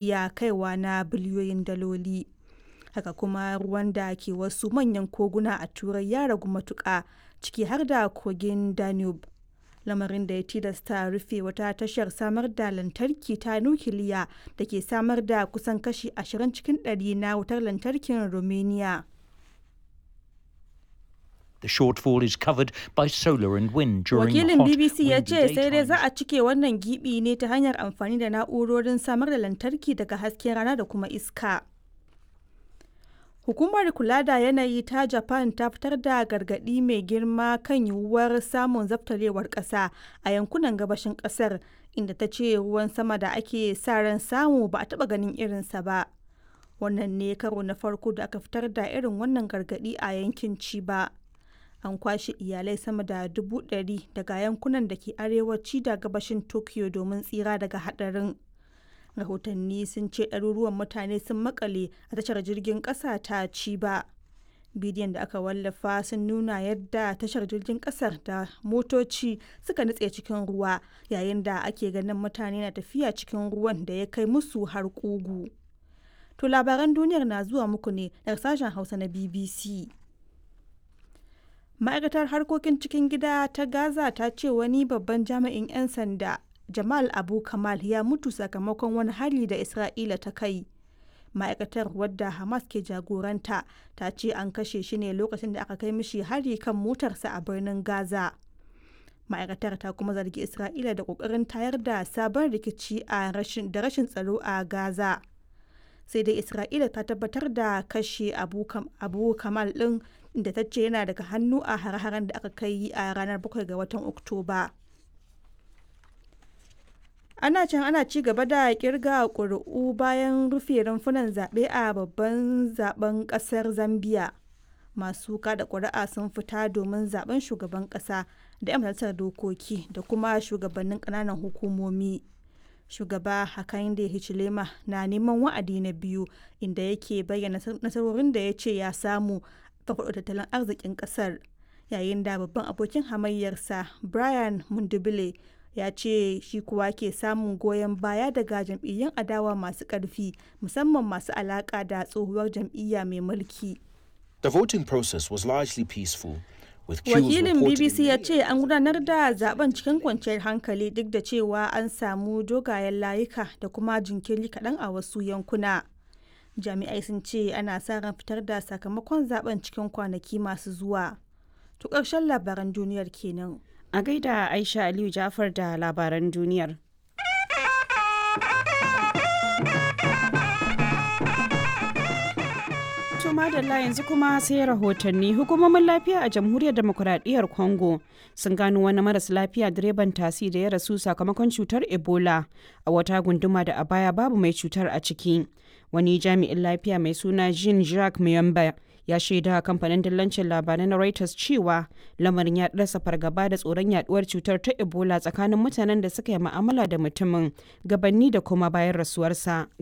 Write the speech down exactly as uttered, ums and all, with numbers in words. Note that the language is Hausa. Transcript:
iya kaiwa na biliyoyin daloli. Haka kuma ruwan da ke wasu manyan koguna a Turai ya ragu matuƙa, ciki har da kogin Danube, lamarin da ya tilasta rufe wata tashar samar da lantarki ta nukiliya da ke samar da kusan kashi ashirin cikin ɗari na wutar lantarkin Romania. The shortfall is covered by solar and wind during Wakilin hot, B B C ya windy ce sai dai za daytimes. a cike wannan gibi ne ta hanyar amfani da na'urorin samar da lantarki daga hasken rana da kuma iska. Hukumar kula da yanayi ta Japan ta fitar da gargaɗi mai girma kan yiwuwar samun zabtarewar ƙasa a yankunan gabashin ƙasar, inda ta ce ruwan sama da ake sa ran samu ba a taɓa ganin irinsa ba. Wannan ne karo na farko da aka fitar da irin wannan gargaɗi a yankin Chiba. An kwashe iyalai sama da dubu ɗari daga yankunan da ke arewaci da gabashin Tokyo domin tsira daga haɗarin. Rahotanni sun ce ɗaruruwan mutane sun makale a tashar jirgin ƙasa ta Chiba. Bidiyon da aka wallafa sun nuna yadda tashar jirgin ƙasar da motoci suka nutse cikin ruwa, yayin da ake ganin mutane na tafiya cikin ruwan da ya kai musu har ƙugu. To labaran duniyar na zuwa muku ne daga sashen Hausa na B B C. Ma'aikatar harkokin cikin gida ta Gaza ta ce wani babban jami'in 'yan sanda, Jamal Abu Kamal, ya mutu sakamakon wani hari da Isra'ila ta kai. Ma'aikatar, wadda Hamas ke jagoranta, ta ce an kashe shi ne lokacin da aka kai mishi hari kan motarsa a birnin Gaza. Ma'aikatar ta kuma zargi Isra'ila da kokarin tayar da sabon rikici a rashin da rashin tsaro a Gaza. Sai dai Isra'ila ta tabbatar da kashe Abu, Kam- Abu Kamal ɗin, da ta ce yana daga hannu a hare-haren da aka kai a ranar bakwai ga watan Oktoba. Ana can ana ci gaba da kirga ƙuri'u bayan rufe rumfunan zaɓe a babban zaben ƙasar Zambia. Masu kada ƙuri'a sun fita domin zaben shugaban ƙasa da 'yan majalisar dokoki da kuma shugabannin ƙananan hukumomi. Shugaba Hakainde Hichilema na neman wa'adi na biyu, inda yake bayyana nasarorin da ya ce ya samu farfaɗo tattalin arzikin ƙasar, yayin da babban abokin hamayyarsa Brian Mundubile ya ce shi kuwa ke samun goyon baya daga jam'iyyun adawa masu ƙarfi, musamman masu alaƙa da tsohuwar jam'iyya mai mulki. The voting process was largely peaceful, with queues Wakilin reported in B B C ya many ce an gudanar da zaben cikin kwanciyar hankali, duk da cewa an samu dogayen layuka da kuma jinkiri kaɗan a wasu yankuna. Jami'ai sun ce ana sa ran fitar da sakamakon zaben cikin kwanaki masu zuwa. To ƙarshen labaran duniyar kenan. A gaida Aisha Aliyu Jafar da labaran duniyar. To madalla, yanzu kuma sai rahotanni. Hukumomin lafiya a Jamhuriyar Demokuraɗiyyar Congo sun gano wani maras lafiya direban tasi da ya rasu sakamakon cutar Ebola a wata gunduma da a baya babu mai cutar a ciki. Wani jami'in lafiya mai suna Jean Jacques Muyamba ya shaida kamfanin dillancin labarai na Reuters cewa lamarin ya rasa fargaba da tsoron yaduwar cutar ta Ebola tsakanin mutanen da suka yi ma'amala da mutumin gabanni da kuma bayan rasuwarsa.